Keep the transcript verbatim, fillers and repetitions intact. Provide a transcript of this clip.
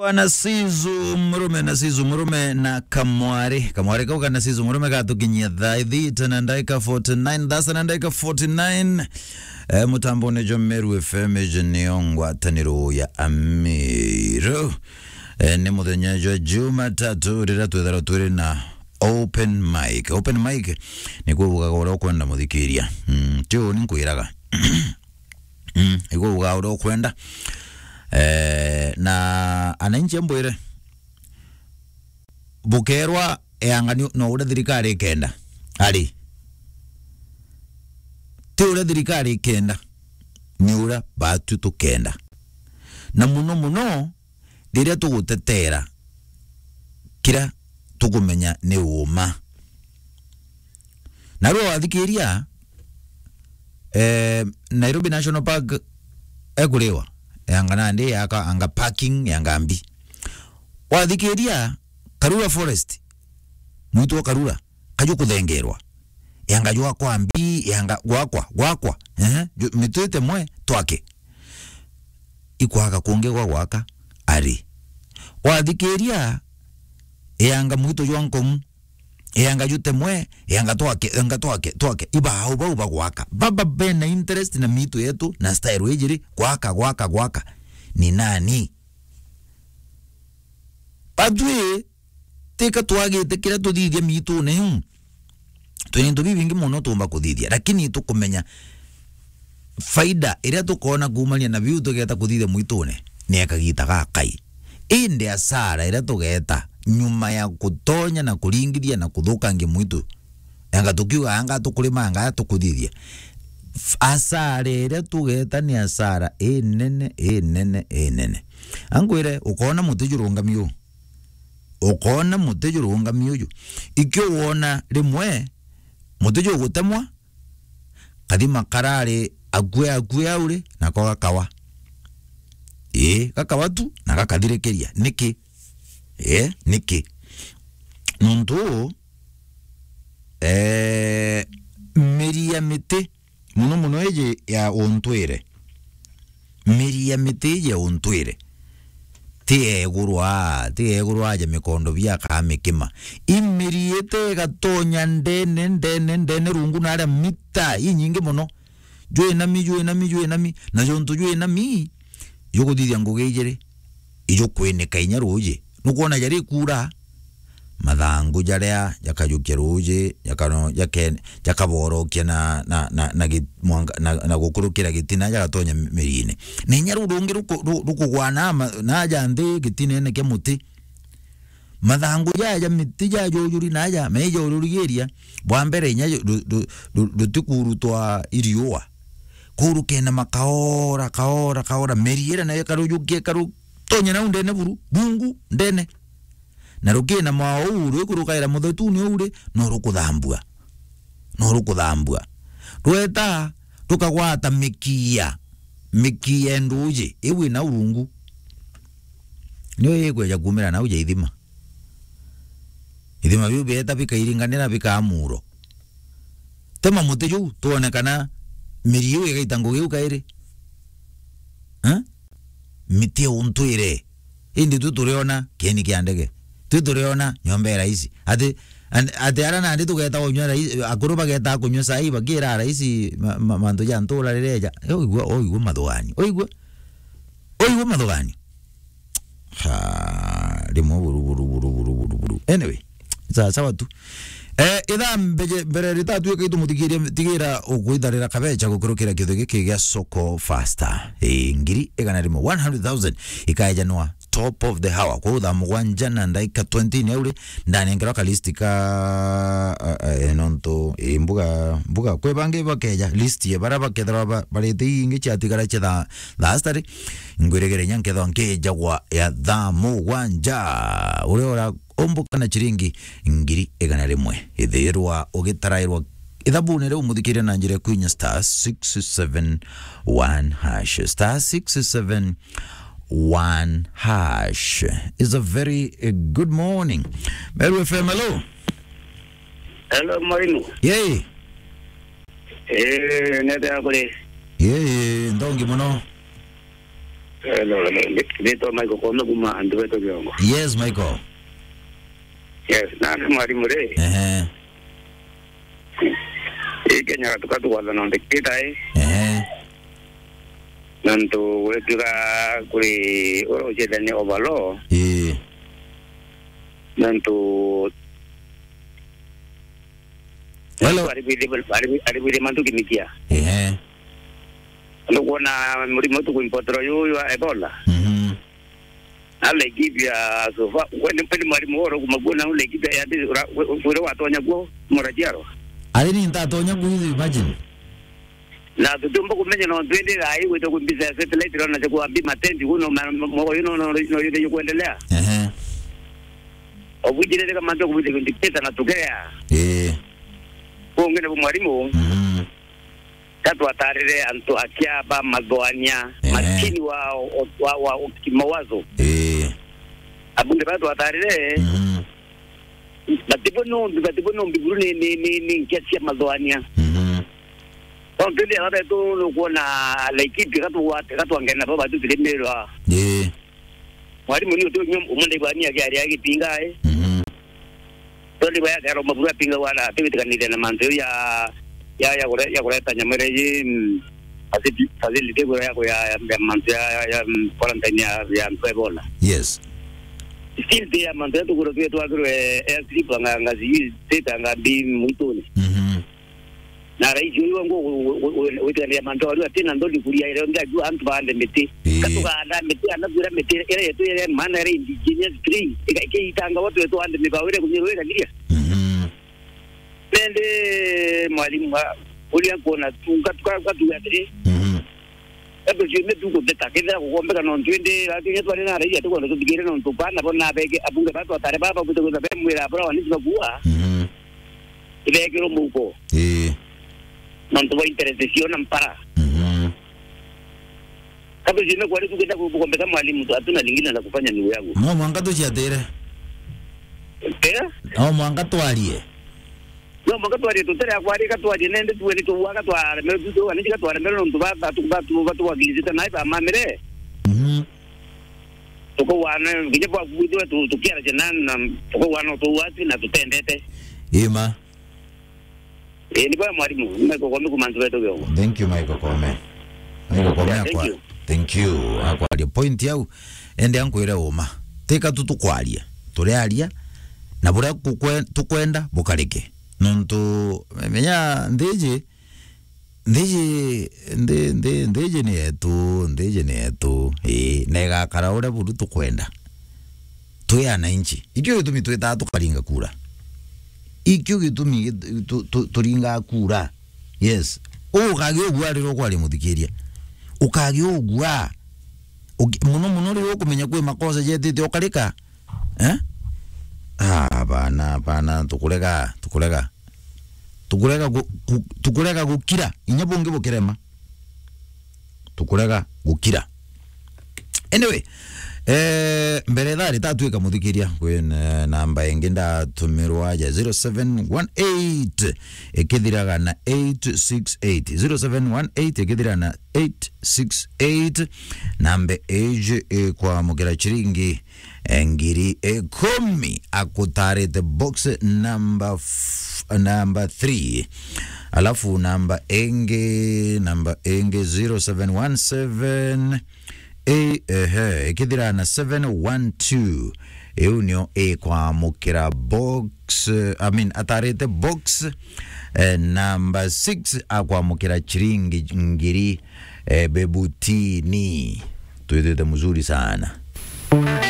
Bwana Sizu Murume na Sizu Murume na Kamwari. Kamwari kau kana Sizu Murume gatukinyia thaa ithita na ndaika forty nine, thasa na ndaika forty nine. Eh, mutambone jwa Meru F M, iji niyo ngwataniro ya Amiru. Eh, ni muthenya jwa Jumatatu, riria twithagirwa twiri na open mic. Open mic ni kuugaga uria ukwenda muthikiria. Mm, ti uu ni nkwiraga. Mm, igua uga uria ukwenda. Eh, na ananchi ambwire, bukerwa eanga ni, no uria thirikari ikenda. Ari. Ti uria thirikari ikenda, ni uria batu tukenda. Na muno muno, riria tugutetera kiria tukumenya ni uuma. Na riu wathikiria, eh, Nairobi National Park ekuriwa, yanga nandi yaka anga parking yanga mbi. Wathikiria Karura Forest, mwitu wa Karura, kaju kuthengerwa. Yanga jwakwa mbi, yanga gwakwa, gwakwa. Eh, ju-, mitu ite mwe twake. Ikwaga kungi gwa gwaka, ari. Wathikiria, yanga mwitu jwa Nkomu, yanga jute mwe, yanga twake, yanga twake, twake. Ibao bau bagwaka. Baba bena interest na mitu yetu na style ijiri, gwaka, gwaka, gwaka. Ni nani? Batwi, tika twagite kiria tuthithia miitune iu. Twina into bibingi mono tuumba kuthithia, lakini tukumenya faida iria tukoona kuumania na biu tugeeta kuthithia mwitune ni ya kagiita gakai. Indi asara iria tugeeta nyuma ya kutonya na kuringithia na kuthukangia mwitu, anga tukiuga anga tukurima anga tukuthithia, f-, asara iria tugeeta ni asara inene, inene, inene. Angwire, ukoona muti jurungami uu. Ukoona muti jurungami uju. Ikio woona rimwe muti jugutemwa, kathima karari akue, akue auri, nako gakawa. Ii, gakawa tu, na gakathirikiria. Niki? Ii, niki? Nontu, ee, miri ya miti, muno muno iji ya untwire. Miri ya miti iji ya untwire ti egurwa, ti egurwa aja mikondo bia kaa mikima. I miri ite igatonya ndene, ndene, ndene rungu na aria mita inyingi muno. Jwinami, jwinami, jwinami. Na jontu jwinami, jukuthithia ngugi ijiri, ijukwinika inya ruuji. Nukwona jari kuura, mathangu jaria jakajukia ruuji, jakano-, jake-, jakaborokia na, na, na, na gi-, mwanga, na, na gukurukira gitina, jagatonya mi-, miriine. Na inya ruu rungi ruku-, ru-, rukugwa na ma-, na aja nthi gitineene kia muti. Mathangu jaja ja miti jajujuri na aja, meija ururigiria, bwa mbere inya ju-, ru-, ru-, ru-, rutikurutwa iriua. Kuu rukenama kaora, kaora, kaora, miri iria nayo ikarujukia, ikarutonya nau ndene buru, bungu, ndene. Na rukinama o uu, rwikurukaira muthetu ni uu ri, no rukuthambua. No rukuthambua. Rweta, rukagwata mikia, mikia ya nduuji, iu ina urungu. Niyo ikweja kuumira nau ja ithima. Ithima biu bieta bikairinganira bikaa muuro. Tema muti juu, twone kana miri iu igaita ngugi iu kairi. Eh? Miti ya untwire. Indi tu turiona kieni kia ndege. Tu turiona nyomba ya raisi. Ati, an-, ati ara nandi tugeta kunywa rai-, akuru bageta kunywa cai bakiira raisi ma-, ma-, mantu ja ntura riria eja. Oigua, oigua mathuganio. Oigua? Oigua mathuganio. Ha, rimwe buru, buru, buru. Anyway, sawa, sawa tu. Eh, ithaa mbeje, mbere ritatuika itumuthikirie, tigira ukwitharira kabecha gukurukira kiuthu giki gia Soko Faster. Eh, ngiri igana rimwe, one hundred thousand, ikaejanwa top of the hour. Kwou thaa mugwanja na ndaika twenty ni auri, ndanengerwa ka list ka, eh, eh, nontu, eh, mbuga, mbuga, kwi bangi bakeja list ye bara bakethirwa ba-, barite ingi ciatigara cia thaa, thaa stari. Ngwirigire inya nkethwa nkijagwa ya thaa mugwanja. Uria ura umbuka na chiringi ngiri igana rimwe. Ithirwa ugitarairwa ithabune riu, muthikiria na njira ya kwinya star six seven one hash. Star six seven one hash. Is a very, uh, good morning. Meru F M, hello. Hello, Mainu. Yay. Eh, nete akuri. Yay, ndongi muno. Hello, ni, ni, nitwa Michael Kome kuma Antu Beto Kiongo. Yes, Michael. Yes, na ni mwalimu ri. Ehe. Ii Kenya tukatukwatha nontu kita i. Ehe. Nontu gwituika kuri uria ucietania overall. Ii. Nontu Hello. Ari bwithe, ari bwithe mantu kimikia. Ehe. Ndu kuona murimo tu kuimpoterwa yu, yu wa Ebola. Mhm. Na Laikipia so far, we ni, we ni mwalimu woro kuma kuo na Laikipia ya ndi, ura, we, we, we watonya kuo, muraciarwa. Ari ni ntatonya kuo, imagine. Na tutiumba kumenya no twende rai gwita ku mbica ya satellite, rona cha kuambi matendi kuno, mwa yu no, no, no, no, no, kuendelea. Ehe. Obujirire kama ndio kubite dictator na tukea. Eh. Kungi ni mwalimu. Mhm. Katwatarire antu akia ba mathoania, ehe, makini wa, wa, wa, wa kimawazo. Eh. Abunge batwatarire, mhm, batibo nombi, batibo nombi buru ni, ni, ni, ni nkia cia mathoania. Mhm. Kwa mpindi ya betu nukuona Laikipia katugwate, katwangena baba tu tulimirwa. Eh. Mwalimu ni utu nyum, umunde kwa ni akia aria gipinga, eh. Mhm. Tondũ baya kero mabura pinga wala, tigitikanithia na mantu ya, ya, ya kure-, ya kureta nyamere yi, mm, facility, facility kure ya, ya, ya mantu ya, ya, ya, mm, quarantine ya, ya antu Ebola. Yes. Still ti ya mantu ya tukuro twe twakirwe airstrip anga, anga sijui state anga mbi mwituni. Mhm. Na rais uyu wangu witikania mantu aria atina nthoni kuria ire ngi ajua antu baande miti. Ii. Katuganda miti, ana kwira miti ira yetu ire maana ire indigenous tree. Ika, ikiitanga watu wetu ande mibao ire kunyirwa ikagiria. Mhm. Nende mwalimu wa, uria kuona tu, katuga, katuga atiri. Mhm. Eto ciume tu kuteta, kethira kugombeka no ntwende, lakini twari na raia tukwenda tuthikire no ntu bana bona beke, abunge batu atare baba bute kwenda bemwira abura wani tukakuwa. Mhm. Ibekirwo muko. Ii. Nontu bwa interest cio na mpara. Mhm. Kabe zime kwa ritu kenda kukombeka mwalimu tu, hatuna lingine la kufanya ndugu yangu. No mwanka tuciatire. Eh? No mwanka twarie. No mwanka twarie, tutere akwari katwarie nende tuwe ni tuwa katware mero tu tuwa ni katware mero nontu ba, ba, tu, ba, tu, ba, tuwagilizite na iba mamire. Mhm. Tukawana, nginya bwa kwithirwa tu-, tukiaracia na, na tukawana utu watu na tutendete. Ima. Ii, ni bwega mwarimu, ni Michael Kome kuma Antu Beto Kiongo. Thank you, Michael Kome. Michael Kome. Yeah, thank akwa-, you. Thank you. Akwaria point yau, ende ankwire uma. Tika tu tukwaria. Turiaria, na buria kukwe-, tukwenda bukarike. Nontu, menya, nthiji, Nthiji, nthi-, nthi-, nthiji ni yetu, nthiji ni yetu. Ii, na igakara uria buru tukwenda. Twi ananchi. Ikio gitumi twitaa tukaringa kura. Ikio gitumi git-, tu-, tu-, turingaa kura. Yes. Ukagia ugua riria ukwaria muthikiria. Ukagia ugua. Uki-, muno muno riria ukumenya kwi makosa jetite ukarika. Eh? Ah, bana, bana, tukurega, tukurega. Tukurega gu-, gu-, tukurega gukira, inya bungi bukirema. Tukurega gukira. Anyway, eh, mbere thaa ritatuika muthikiria, kwi na-, namba ingi ndatumirwa ya zero seven one eight ikithiraga na eight six eight. Zero seven one eight ikithiraga na eight six eight. Namba iji ikwamukira chiringi eh, ngiri ikumi, akutarite box number f-, number three. Alafu namba ingi, namba ingi zero seven one seven, eh, ehe, ikithira na seven one two. Iu nio ikwamukira box, eh, I mean, atarite box, eh, number six, akwamukira chiringi ngiri, eh, bebutini. Twithite mzuri sana.